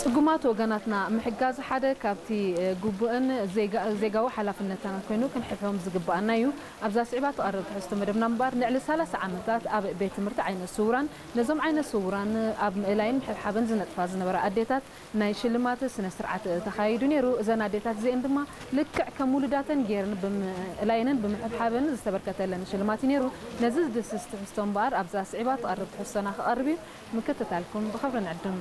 ጽጉማት ወገናትና ምሕጋዝ ሓደ ካብቲ ግቡእን ዜጋዊ ሓላፍነትና ኮይኑ ክንሕልፎም ዝግባኣና እዩ። ኣብዛ ስዒባ ትቐርብ ትሕዝቶ መደብና እምበኣር፣ ልዕሊ ሰላሳ ዓመታት ኣብ ቤት ትምህርቲ ዓይነ ስውራን ነዞም ዓይነ ስውራን ኣብ ምእላይን ምሕብሓብን ዝነጥፋ ዝነበራ ኣዴታት ናይ ሽልማት ስነ ስርዓት ተኻይዱ ነይሩ። እዘን ኣዴታት እዚአን ድማ ልክዕ ከም ውሉዳተን ገይረን ብምእላየንን ብምሕብሓበን ዝተበርከተለን ሽልማት እዩ ነይሩ። ነዚ ዝድስስ ትሕዝቶ እምበኣር ኣብዛ ስዒባ ትቐርብ ትሕዝቶና ክቐርብ እዩ። ምክትታልኩም ብኽብሪ ንዕድም።